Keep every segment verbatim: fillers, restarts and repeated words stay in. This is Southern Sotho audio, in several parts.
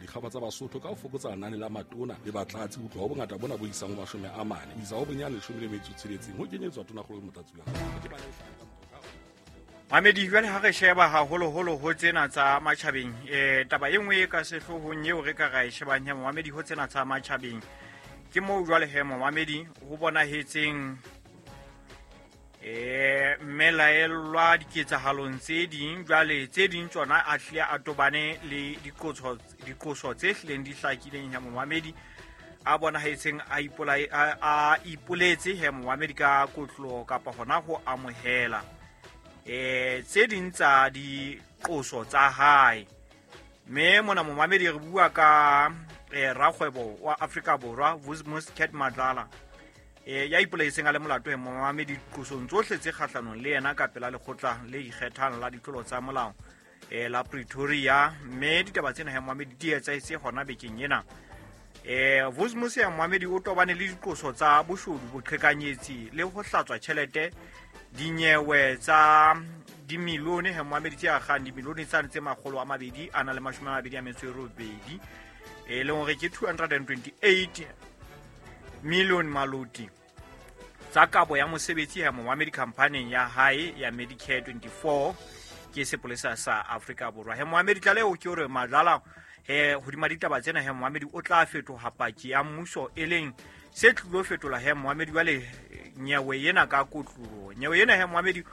dikgaba tsa Basotho ka ho fokotsa lenane la matona le batlatsi ho tloha ho bongata bona bo isang ho mashome a mane ho isa ho bonyane leshome le metso e tsheletseng ho kenyetswa tonakgolo le motlatsi wa hae. Mamedi, jwale ha re sheba haholoholo ho tsena tsa matjhabeng, eh taba e nngwe e ka sehloohong eo re ka ra e shebang he momamedi ho tsena tsa matjhabeng ke moo jwale he momamedi ho bonahetseng eh mmelaellwa diketsahalong tse ding, jwale tse ding tsona a hlile a tobane le diqoso, diqoso tse hlileng di hlakileng he momamedi a bonahetseng a ipolai-, a, a ipoletse he momamedi ka kotlo kapa hona ho amohela eh tse ding tsa diqoso tsa hae. Mme mona momamedi re bua ka eh rakgwebo wa Afrika Borwa Vusimuzi Cat Matlala eh ya ipolaetseng a le molato he momamedi diqosong tsohle tse kgahlanong le yena ka pela lekgotla le ikgethang la ditlolo tsa molao eh la Pretoria. Mme ditaba tsena he momamedi di etsahetse hona bekeng ena. Eh Vusimuzi ya momamedi o tobane le diqoso tsa boshodu, boqhekanyetsi le ho hlatswa tjhelete, dinyewe tsa dimilione he momamedi tse akgang dimilione tsane tse makgolo a mabedi a na le mashome a mabedi a metso e robedi, e leng hore ke two hundred and twenty-eight million maloti tsa kabo ya mosebetsi he momamedi khamphaneng ya hae ya Medicare twenty-four ke sepolesa sa Afrika Borwa. He momamedi tlaleho ke hore Madlala he hodima ditaba tsena he momamedi o tla fetoha paki ya mmuso, e leng se tlilo fetola he momamedi jwale nyewe ena ka kotloloho. Nyewe ena he momamedi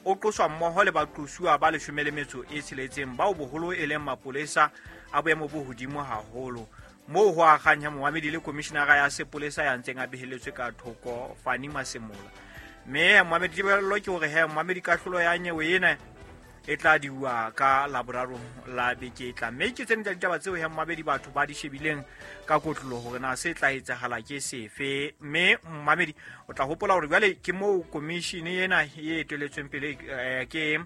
o qoswa mmoho le baqosuwa ba leshome le metso e tsheletseng bao boholo e leng mapolesa a boemo bo hodimo haholo, moo ho akgang he momamedi le komishinara ya sepolesa ya ntseng a beheletswe ka thoko Fannie Masemola. Mme momamedi tebello ke hore he momamedi kahlolo ya nyewe ena e tla diuwa ka Laboraro la beke e tlang. Mme ke tsena tsa ditaba tseo he momamedi batho ba di shebileng ka kotloloho hore na se tla etsahala ke sefe. Mme momamedi o tla hopola hore jwale ke moo komishene ena e eteletsweng pele, eh, ke,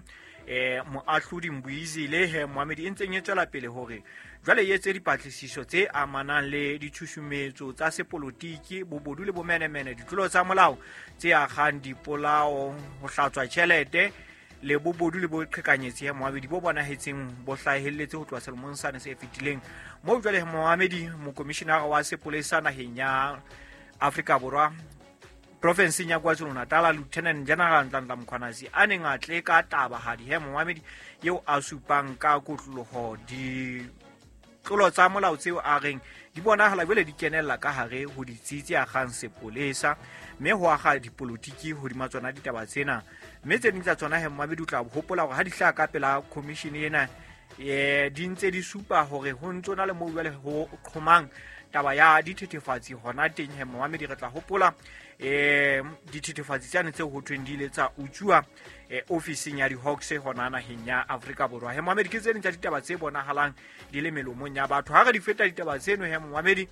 eh, moahlodi Mbuyizile he momamedi e ntseng e tswela pele hore jwale e etse dipatlisiso tse amanang le ditshusumetso tsa sepolotiki, bobodu le bomenemene, ditlolo tsa molao tse akgang dipolao, ho hlatswa tjhelete le bobodu le boqhekanyetsi he momamedi bo bonahetseng bo hlahelletse ho tloha selemong sane se fetileng. Moo jwale he momamedi mokomishinara wa sepolesa naheng ya Afrika Borwa profenseng ya KwaZulu-Natal Lieutenant General Nhlanhla Mkhwanazi a neng a tle ka tabahadi he momamedi eo a supang ka kotloloho ditlolo tsa molao tseo a reng di bonahala jwale di kenella ka hare ho ditsi tse akgang sepolesa, mme ho akga dipolotiki hodima tsona ditaba tsena. Mme tse ding tsa tsona he momamedi o tla hopola hore ha di hlaha ka pela commission ena, eh, di ntse di supa hore ho ntso na le moo jwale ho qhomang taba ya dithethefatsi hona teng he momamedi. Re tla hopola, eh, dithethefatsi tsane tseo ho thweng di ile tsa utsuwa, eh, ofising ya di-Hawks hona naheng ya Afrika Borwa. He momamedi ke tse ding tsa ditaba tse bonahalang di le melomong ya batho. Ha re di feta ditaba tseno he momamedi,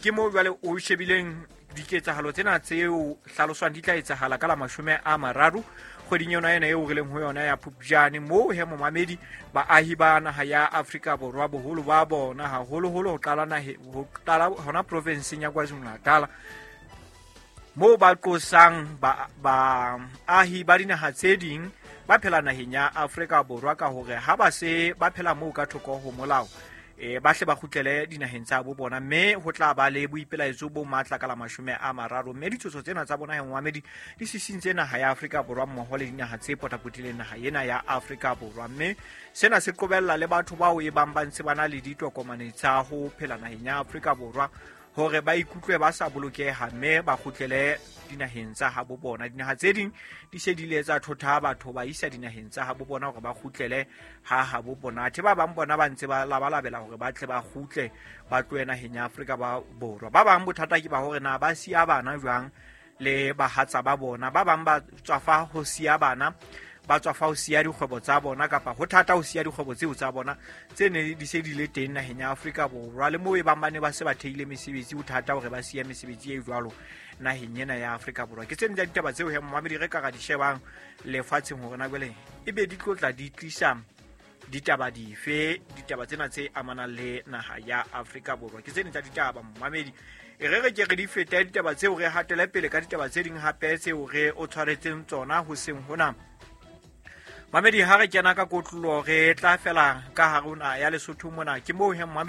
ke moo jwale o shebileng diketsahalo tsena tseo hlaloswang di tla etsahala ka la mashome a mararo kgweding yona ena eo re leng ho yona ya Phupjane, moo he momamedi baahi ba naha ya Afrika Borwa boholo ba bona haholoholo ho qala nahe, ho qala hona provinseng ya KwaZulu-Natal, moo ba qosang ba, baahi ba dinaha tse ding ba phela naheng ya Afrika Borwa ka hore ha ba se ba phela moo ka thoko ho molao, eh, ba hle ba kgutlele dinaheng tsa bo bona, mme ho tla ba le boipelaetso bo matla ka la mashome a mararo. Mme ditshoso tsena tsa bona he momamedi di sisintse naha ya Afrika Borwa mmoho le dinaha tse potapotileng naha ena ya Afrika Borwa. Mme sena se qobella le batho bao e bang ba ntse ba na le ditokomane tsa ho phela naheng ya Afrika Borwa hore ba ikutlwe ba sa bolokeha mme ba kgutlele dinaheng tsa habo bona. Dinaha tse ding di se di ile tsa thotha batho ba isa dinaheng tsa habo bona hore ba kgutlele ha habo bona. Athe ba bang bona ba ntse ba labalabela hore ba tle ba kgutle ba tlohe naheng ya Afrika Borwa. Ba bang bothata ke ba hore na ba siya bana jwang le bahatsa ba bona. Ba bang ba tswafa ho siya bana, ba tswafa ho siya dikgwebo tsa bona, kapa ho thata ho siya dikgwebo tseo tsa bona tse ne di se di le teng naheng ya Afrika Borwa. Le moo e bang ba ne ba se ba theile mesebetsi, ho thata hore ba siye mesebetsi e jwalo naheng ena ya Afrika Borwa. Ke tse ding tsa ditaba tseo he momamedi re ka ra di shebang lefatsheng hore na jwale ebe di tlo tla di tlisa ditaba dife, ditaba tsena tse amanang le naha ya Afrika Borwa. Ke tse ding tsa ditaba momamedi. E re re ke re di fete ditaba tseo, re hatele pele ka ditaba tse ding hape tseo re o tshwaretseng tsona hoseng hona. Mamedi, ha re kena ka kotlolo re tla fela ka hare ho naha ya Lesotho mona. Ke moo he momamedi